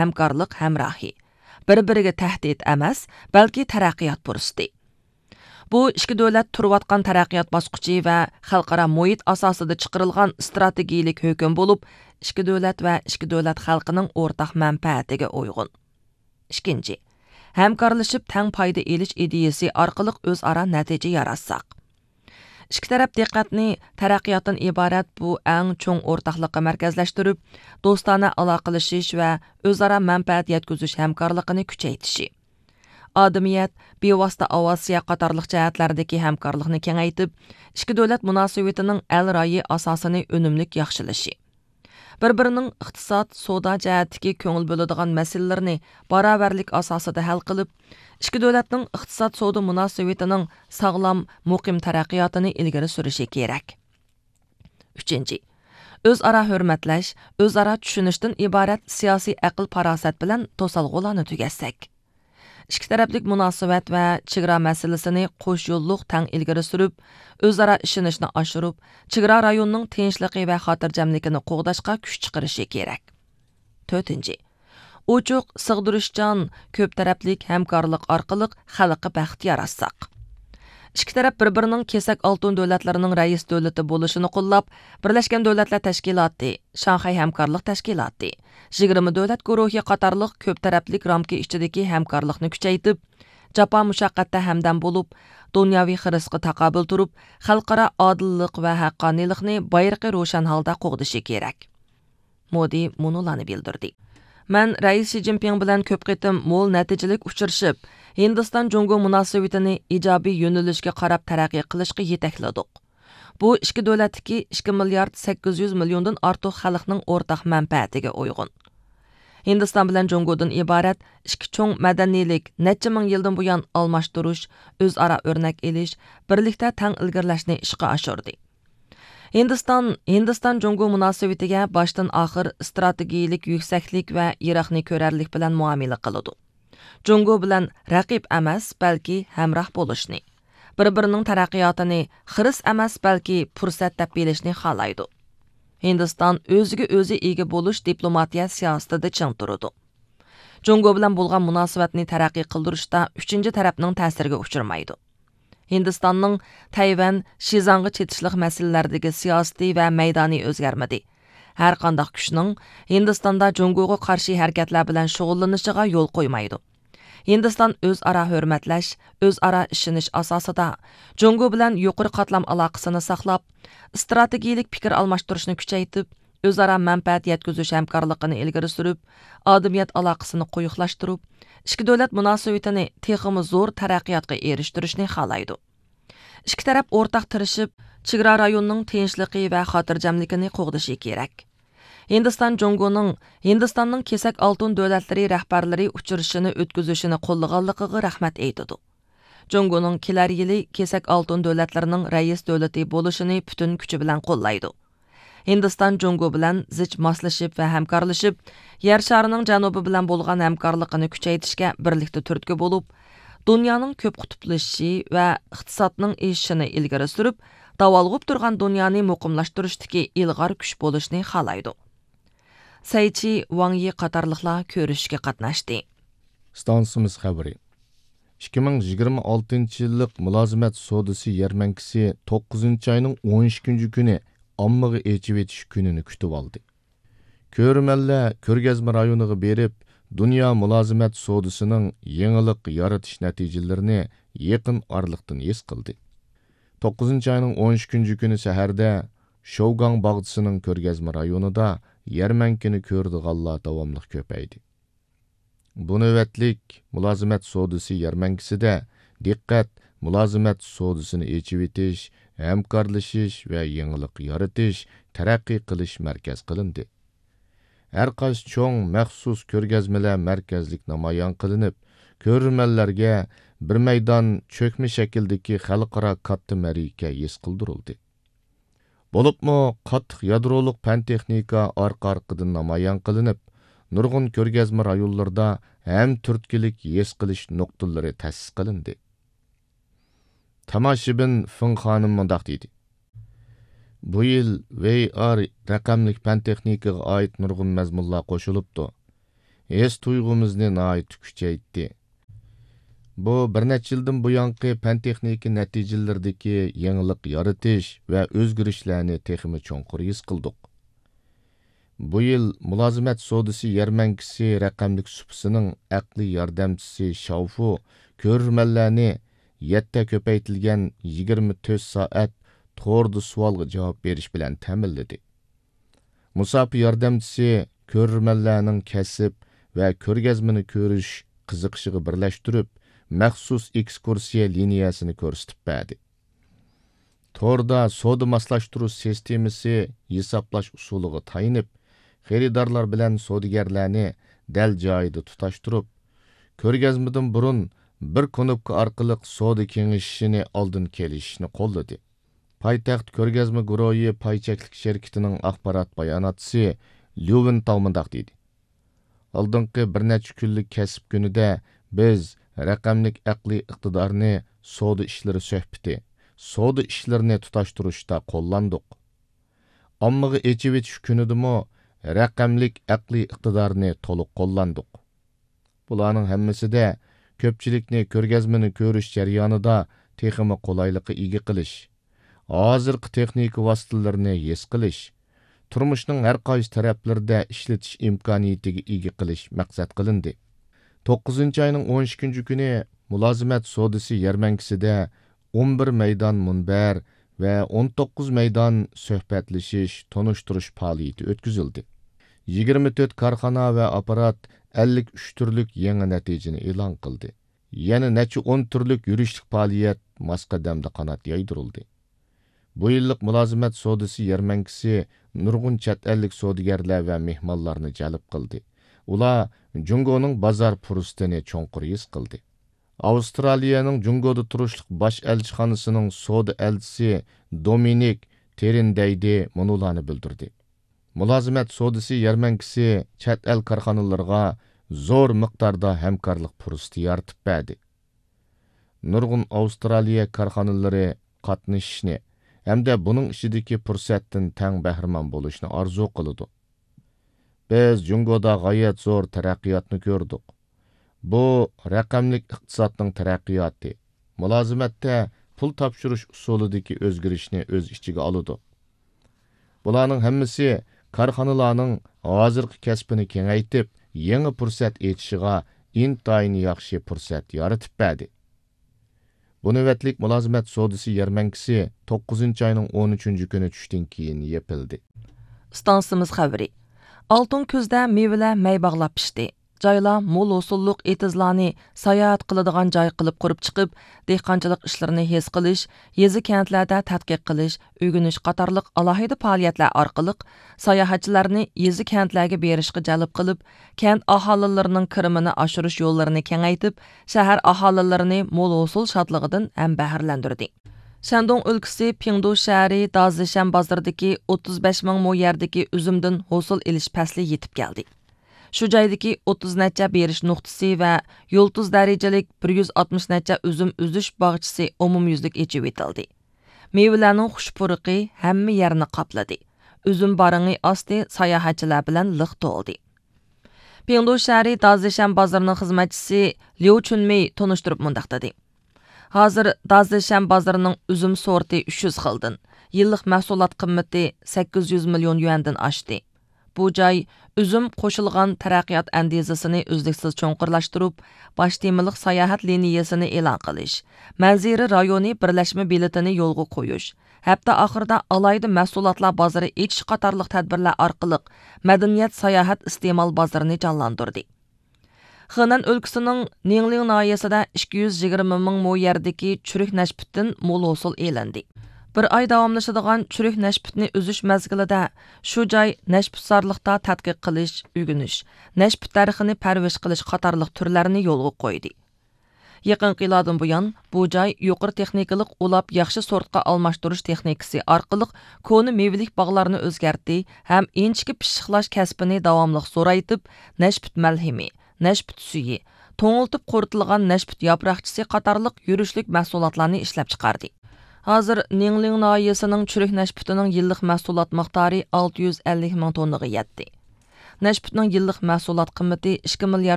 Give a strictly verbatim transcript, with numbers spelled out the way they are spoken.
ھەمكارلىق ھەمراھى، بىر-بىرىگە تەھدىت ئەمەس، بەلكى تەرەققىيات پۇرسىتى. بۇ ئىككى دۆلەت تۇرۇۋاتقان تەرەققىيات باسقۇچى ۋە خەلقئارا مۇھىت ئاساسىدا چىقىرىلغان ئىستراتېگىيىلىك ھۆكۈم بولۇپ، ئىككى دۆلەت ۋە ئىككى دۆلەت خەلقىنىڭ ئورتاق مەنپەئەتىگە ئۇيغۇن. ئىككىنچى، ھەمكارلىشىپ تەڭ پايدا ئېلىش ئىدىيىسى ئارقىلىق ئۆزئارا نەتىجە ياراتساق. ئىككى تەرەپ دىققەتنى تەرەققىياتتىن ئىبارەت بۇ ئەڭ چوڭ ئورتاقلىققا مەركەزلەشتۈرۈپ، دوستانە ئالاقىلىشىش ۋە ئۆزئارا مەنپەئەت يەتكۈزۈش ھەمكارلىقىنى كۈچەيتىشى، ئادىمىيەت، بىۋاسىتە ئاۋىئاتسىيە قاتارلىق جەھەتلەردىكى ھەمكارلىقنى كېڭەيتىپ، ئىككى دۆلەت مۇناسىۋىتىنىڭ ئەل رايى ئاساسىنى ئۈنۈملۈك ياخشىلىشى، بىر-بىرىنىڭ ئىقتىساد، سودا جەھەتتىكى كۆڭۈل بۆلىدىغان مەسىلىلىرىنى باراۋەرلىك ئاساسىدا ھەل قىلىپ، ئىككى دۆلەتنىڭ ئىقتىساد، سودا مۇناسىۋىتىنىڭ ساغلام، مۇقىم تەرەققىياتىنى ئىلگىرى سۈرۈشى كېرەك. ئۈچىنچى، ئۆزئارا ھۆرمەتلەش، ئۆزئارا چۈشىنىشتىن ئىبارەت سىياسىي ئەقىل-پاراسەت بىلەن توسالغۇلارنى تۈگەتسەك. ئىككى تەرەپلىك مۇناسىۋەت ۋە چېگرا مەسىلىسىنى قوش يوللۇق تەڭ ئىلگىرى سۈرۈپ، ئۆزئارا ئىشىنىشنى ئاشۇرۇپ، چېگرا رايونىنىڭ تىنچلىقى ۋە خاتىرجەملىكىنى قوغداشقا كۈچ چىقىرىشى كېرەك. تۆتىنچى، ئوچۇق، سىغدۇرۇشچان، كۆپ تەرەپلىك ھەمكارلىق ئارقىلىق خەلققە بەخت ياراتساق. ئىككى تەرەپ بىر-بىرىنىڭ كېسەك ئالتۇن دۆلەتلىرىنىڭ رەئىس دۆلىتى بولۇشىنى قوللاپ، بىرلەشكەن دۆلەتلەر تەشكىلاتى، شاڭخەي ھەمكارلىق تەشكىلاتى، يىگىرمە دۆلەت گۇرۇھى قاتارلىق كۆپ تەرەپلىك رامكا ئىچىدىكى ھەمكارلىقنى كۈچەيتىپ، جاپا مۇشەققەتتە ھەمدەم بولۇپ، دۇنياۋى خىرىسقا تاقابىل تۇرۇپ، خەلقئارا ئادىللىق ۋە ھەققانىيلىقنى بايرىقى روشەن ھالدا قوغدىشى كېرەك. مودى مۇنۇلارنى بىلدۈردى. مەن رەئىس شى جىنپىڭ بىلەن كۆپ قېتىم مول نەتىجىلىك ئۇچرىشىپ، ھىندىستان جۇڭگو مۇناسىۋىتىنى ئىجابىي يۆنىلىشكە قاراپ تەرەققىي قىلىشقا يېتەكلىدۇق. بۇ ئىككى دۆلەتتىكى ئىككى مىليارد سەككىز يۈز مىليوندىن ئارتۇق خەلقنىڭ ئورتاق مەنپەئەتىگە ئۇيغۇن. ھىندىستان بىلەن جۇڭگودىن ئىبارەت ئىككى چوڭ مەدەنىيلىك نەچچە مىڭ يىلدىن بۇيان ئالماشتۇرۇش، ئۆزئارا ئۆرنەك ئېلىش، بىرلىكتە تەڭ ئىلگىرىلەشنى ئىشقا ئاشۇردى. ھىندىستان، ھىندىستان جۇڭگو مۇناسىۋىتىگە باشتىن ئاخىر ئىستراتېگىيىلىك يۈكسەكلىك ۋە يىراقنى كۆرەرلىك بىلەن مۇئامىلە قىلىدۇ. جۇڭگو بىلەن رەقىب ئەمەس، بەلكى ھەمراھ بولۇشنى، بىر-بىرىنىڭ تەرەققىياتىنى خىرىس ئەمەس، بەلكى پۇرسەت دەپ بىلىشنى خالايدۇ. ھىندىستان ئۆزىگە ئۆزى ئىگە بولۇش دىپلوماتىيە سىياسىتىدە چىڭ تۇرىدۇ. جۇڭگو بىلەن بولغان مۇناسىۋەتنى تەرەققىي قىلدۇرۇشتا ئۈچىنچى تەرەپنىڭ تەسىرىگە ئۇچرىمايدۇ. ھىندىستاننىڭ تەيۋەن، شىزاڭغا چېتىشلىق مەسىلىلەردىكى سىياسىتى ۋە مەيدانى ئۆزگەرمىدى. ھەرقانداق كۈچنىڭ ھىندىستاندا جۇڭگوغا قارشى ھەرىكەتلەر بىلەن شۇغۇللىنىشىغا يول قويمايدۇ. ھىندىستان ئۆزئارا ھۆرمەتلەش، ئۆزئارا ئىشىنىش ئاساسىدا جۇڭگو بىلەن يۇقىرى قاتلام ئالاقىسىنى ساقلاپ، ئىستراتېگىيىلىك پىكىر ئالماشتۇرۇشنى كۈچەيتىپ، ئۆزئارا مەنپەئەت يەتكۈزۈش ھەمكارلىقىنى ئىلگىرى سۈرۈپ، ئادەمىيەت ئالاقىسىنى قويۇقلاشتۇرۇپ، ئىككى دۆلەت مۇناسىۋىتىنى تېخىمۇ زور تەرەققىياتقا ئېرىشتۈرۈشنى خالايدۇ. ئىككى تەرەپ ئورتاق تىرىشىپ، چېگرا رايونىنىڭ تىنچلىقى ۋە خاتىرجەملىكىنى قوغدىشى كېرەك. ھىندىستان جۇڭگونىڭ ھىندىستاننىڭ كېسەك ئالتۇن دۆلەتلىرى رەھبەرلىرى ئۇچرىشىشىنى ئۆتكۈزۈشىنى قوللىغانلىقىغا رەھمەت ئېيتىدۇ. جۇڭگونىڭ كېلەر يىلى كېسەك ئالتۇن دۆلەتلىرىنىڭ رەئىس دۆلىتى بولۇشىنى پۈتۈن كۈچى بىلەن قوللايدۇ. ھىندىستان جۇڭگو بىلەن زىچ ماسلىشىپ ۋە ھەمكارلىشىپ، يەر شارىنىڭ جەنۇبى بىلەن بولغان ھەمكارلىقىنى كۈچەيتىشكە بىرلىكتە تۈرتكە بولۇپ، دۇنيانىڭ كۆپ قۇتۇپلىشىشى ۋە ئىقتىسادنىڭ ئېشىشىنى ئىلگىرى سۈرۈپ، داۋالغۇپ تۇرغان دۇنيانى مۇقىملاشتۇرۇشتىكى ئىلغار كۈچ بولۇشنى خالايدۇ. سەيچى، ۋاڭ يى قاتارلىقلار كۆرۈشۈشكە قاتناشتى. ئىستانسىمىز خەۋىرى. ئىككى مىڭ يىگىرمە ئالتىنچى يىللىق مۇلازىمەت سودىسى يەرمەنكىسى توققۇزىنچى ئاينىڭ ئون ئىككىنچى كۈنى ئاممىغا ئېچىۋېتىش كۈنىنى كۈتۈۋالدى. كۆرۈرمەنلەر كۆرگەزمە رايونىغا بېرىپ، دۇنيا مۇلازىمەت سودىسىنىڭ يېڭىلىق يارىتىش نەتىجىلىرىنى يېقىن ئارىلىقتىن ھېس قىلدى. توققۇزىنچى ئاينىڭ ئون ئىككىنچى كۈنى سەھەردە شوگاڭ باغچىسىنىڭ كۆرگەزمە رايونىدا يەرمەنكىنى كۆرىدىغانلار داۋاملىق كۆپەيدى. بۇ نۆۋەتلىك مۇلازىمەت سودىسى يەرمەنكىسىدە دىققەت مۇلازىمەت سودىسىنى ئېچىۋېتىش، ھەمكارلىشىش ۋە يېڭىلىق يارىتىش، تەرەققىي قىلىش مەركەز قىلىندى. ھەر قايسى چوڭ مەخسۇس كۆرگەزمىلەر مەركەزلىك نامايان قىلىنىپ، كۆرۈرمەنلەرگە بىر مەيدان چۆكمە شەكىلدىكى خەلقئارا كاتتا مەرىكە ھېس قىلدۇرۇلدى. بولۇپمۇ قاتتىق يادرولۇق پەن تېخنىكا ئارقا-ئارقىدىن نامايان قىلىنىپ، نۇرغۇن كۆرگەزمە رايونلىرىدا ھەم تۈرتكىلىك ھېس قىلىش نۇقتىلىرى تەسىس قىلىندى. تاماشىبىن فېڭ خانىم مۇنداق دېدى: بۇ يىل ۋي ئار رەقەملىك پەن تېخنىكىغا ئائىت نۇرغۇن مەزمۇنلار قوشۇلۇپتۇ. ھېس تۇيغۇمىزنى ناھايىتى كۈچەيتتى. بۇ بىر نەچچە يىلدىن بۇيانقى پەن-تېخنىكا نەتىجىلىرىدىكى يېڭىلىق يارىتىش ۋە ئۆزگىرىشلەرنى تېخىمۇ چوڭقۇر ھېس قىلدۇق. بۇ يىل مۇلازىمەت سودىسى يەرمەنكىسى رەقەملىك سۇپىسىنىڭ ئەقلىي ياردەمچىسى شاۋفۇ كۆرۈرمەنلەرنى يەتتە كۆپەيتىلگەن يىگىرمە تۆت سائەت توردا سوئالغا جاۋاب بېرىش بىلەن تەمىنلىدى. مۇساپە ياردەمچىسى كۆرۈرمەنلەرنىڭ كەسىپ ۋە كۆرگەزمىنى كۆرۈش قىزىقىشىغا بىرلەشتۈرۈپ، مەخسۇس ئېكسكۇرسىيە لىنىيەسىنى كۆرسىتىپ بەردى. توردا سودا ماسلاشتۇرۇش سىستېمىسى ھېسابلاش ئۇسۇلىغا تايىنىپ، خېرىدارلار بىلەن سودىگەرلەرنى دەل جايىدا تۇتاشتۇرۇپ، كۆرگەزمىدىن بۇرۇن بىر كۇنۇپكا ئارقىلىق سودا كېڭىشىشىنى ئالدىن كېلىشىشنى قوللىدى. پايتەخت كۆرگەزمە گۇرۇھى پاي چەكلىك شىركىتىنىڭ ئاخبارات باياناتچىسى ليۇ ۋېنتاۋ مۇنداق دېدى: ئالدىنقى بىر نەچچە كۈنلۈك كەسىپ كۈنىدە بىز رەقەملىك ئەقلىي ئىقتىدارنى سودا ئىشلىرى سۆھبىتى، سودا ئىشلىرىنى تۇتاشتۇرۇشتا قوللاندۇق. ئاممىغا ئېچىۋېتىش كۈنىدىمۇ رەقەملىك ئەقلىي ئىقتىدارنى تولۇق قوللاندۇق. بۇلارنىڭ ھەممىسىدە كۆپچىلىكنى كۆرگەزمىنى كۆرۈش جەريانىدا تېخىمۇ قولايلىققا ئىگە قىلىش، ھازىرقى تېخنىكا ۋاسىتىلىرىنى ھېس قىلىش، تۇرمۇشنىڭ ھەر قايسى تەرەپلىرىدە ئىشلىتىش ئىمكانىيىتىگە ئىگە قىلىش مەقسەت قىلىندى. توققۇزىنچى ئاينىڭ ئون ئىككىنچى كۈنى مۇلازىمەت سودىسى يەرمەنكىسىدە ئون بىر مەيدان مۇنبەر ۋە ئون توققۇز مەيدان سۆھبەتلىشىش، تونۇشتۇرۇش پائالىيىتى ئۆتكۈزۈلدى. يىگىرمە تۆت كارخانا ۋە ئاپپارات ئەللىك ئۈچ تۈرلۈك يېڭى نەتىجىنى ئېلان قىلدى. يەنە نەچچە ئون تۈرلۈك يۈرۈشلۈك پائالىيەت ماس قەدەمدە قانات يايدۇرۇلدى. بۇ يىللىق مۇلازىمەت سودىسى يەرمەنكىسى نۇرغۇن چەت ئەللىك سودىگەرلەر ۋە مېھمانلارنى جەلپ قىلدى. ئۇلار جۇڭگونىڭ بازار پۇرسىتىنى چوڭقۇر ھېس قىلدى. ئاۋسترالىيەنىڭ جۇڭگودا تۇرۇشلۇق باش ئەلچىخانىسىنىڭ سودا ئەلچىسى دومىنىك تېرىندەيدى مۇنۇلارنى بىلدۈردى: مۇلازىمەت سودىسى يەرمەنكىسى چەت ئەل كارخانىلىرىغا زور مىقداردا ھەمكارلىق پۇرسىتى يارىتىپ بەردى. نۇرغۇن ئاۋسترالىيە كارخانىلىرى قاتنىشىشنى ھەمدە بۇنىڭ ئىچىدىكى پۇرسەتتىن تەڭ بەھرىمەن بولۇشنى ئارزۇ قىلىدۇ. بىز جۇڭگودا غايەت زور تەرەققىياتنى كۆردۇق. بۇ رەقەملىك ئىقتىسادنىڭ تەرەققىياتى، مۇلازىمەتتە پۇل تاپشۇرۇش ئۇسۇلىدىكى ئۆزگىرىشنى ئۆز ئىچىگە ئالىدۇ. بۇلارنىڭ ھەممىسى كارخانىلارنىڭ ھازىرقى كەسپىنى كېڭەيتىپ، يېڭى پۇرسەت ئېچىشىغا ئىنتايىن ياخشى پۇرسەت يارىتىپ بەردى. بۇ نۆۋەتلىك مۇلازىمەت سودىسى يەرمەنكىسى توققۇزىنچى ئاينىڭ ئون ئۈچىنچى كۈنى چۈشتىن كېيىن يېپىلدى. ئىستانسىمىز خەۋىرى. ئالتۇن كۈزدە مېۋىلەر مەي باغلاپ پىشتى. جايلار مول ھوسۇللۇق ئېتىزلارنى ساياھەت قىلىدىغان جاي قىلىپ قۇرۇپ چىقىپ، دېھقانچىلىق ئىشلىرىنى ھېس قىلىش، يېزا-كەنتلەردە تەتقىق قىلىش، ئۆگىنىش قاتارلىق ئالاھىدە پائالىيەتلەر ئارقىلىق ساياھەتچىلەرنى يېزا-كەنتلەرگە بېرىشقا جەلپ قىلىپ، كەنت ئاھالىلىرىنىڭ كىرىمىنى ئاشۇرۇش يوللىرىنى كېڭەيتىپ، شەھەر ئاھالىلىرىنى مول ھوسۇل شادلىقىدىن ھەم بەھرىلەندۈردى. شەندۇڭ ئۆلكىسى پىڭدۇ شەھىرى دازىشەن بازىرىدىكى ئوتتۇز بەش مىڭ مو يەردىكى ئۈزۈمدىن ھوسۇل ئېلىش پەسلى يېتىپ كەلدى. شۇ جايدىكى ئوتتۇز نەچچە بېرىش نۇقتىسى ۋە يۇلتۇز دەرىجىلىك بىر يۈز ئاتمىش نەچچە ئۈزۈم ئۈزۈش باغچىسى ئومۇميۈزلۈك ئېچىۋېتىلدى. مېۋىلەرنىڭ خۇش پۇرىقى ھەممە يەرنى قاپلىدى. ئۈزۈم بارىڭى ئاستى ساياھەتچىلەر بىلەن لىق تولدى. پىڭدۇ شەھىرى دازىشەن بازىرىنىڭ خىزمەتچىسى ليۇ چۈنمېي تونۇشتۇرۇپ مۇنداق دېدى: ھازىر دازىشەن بازىرىنىڭ ئۈزۈم سورتى ئۈچ يۈز خىلدىن، يىللىق مەھسۇلات قىممىتى سەككىز يۈز مىليون يۈەندىن ئاشتى. بۇ جاي ئۈزۈم قوشۇلغان تەرەققىيات ئەندىزىسىنى ئۈزلۈكسىز چوڭقۇرلاشتۇرۇپ، باش تېمىلىق ساياھەت لىنىيەسىنى ئېلان قىلىش، مەنزىرە رايونى بىرلەشمە بېلىتىنى يولغا قويۇش، ھەپتە ئاخىرىدا ئالاھىدە مەھسۇلاتلار بازىرى ئېچىش قاتارلىق تەدبىرلەر ئارقىلىق مەدەنىيەت ساياھەت ئىستېمال بازىرىنى جانلاندۇردى. خېنەن ئۆلكىسىنىڭ نىڭلىڭ ناھىيەسىدە ئىككى يۈز يىگىرمە مىڭ مو يەردىكى چۈرۈك نەشپۈتتىن مول ھوسۇل ئېلىندى. بىر ئاي داۋاملىشىدىغان چۈرۈك نەشپۈتنى ئۈزۈش مەزگىلىدە شۇ جاي نەشپۈتزارلىقتا تەتقىق قىلىش، ئۆگىنىش، نەشپۈت دەرىخىنى پەرۋىش قىلىش قاتارلىق تۈرلەرنى يولغا قويدى. يېقىنقى يىللاردىن بۇيان، بۇ جاي يۇقىرى تېخنىكىلىق ئۇلاپ ياخشى سورتقا ئالماشتۇرۇش تېخنىكىسى ئارقىلىق كونا مېۋىلىك باغلارنى ئۆزگەرتتى ھەم ئىنچىكە پىششىقلاش كەسپىنى داۋاملىق زورايتىپ، نەشپۈت مەلھىمى، نەشپۈت سۈيى، توڭلىتىپ قۇرۇتۇلغان نەشپۈت ياپراقچىسى قاتارلىق يۈرۈشلۈك مەھسۇلاتلارنى ئىشلەپچىقاردى. ھازىر نىڭلىڭ ناھىيەسىنىڭ چۈرۈك نەشپۈتىنىڭ يىللىق مەھسۇلات مىقدارى ئالتە يۈز ئەللىك مىڭ توننىغا يەتتى. نەشپۈتنىڭ يىللىق مەھسۇلات قىممىتى ئىككى مىليارد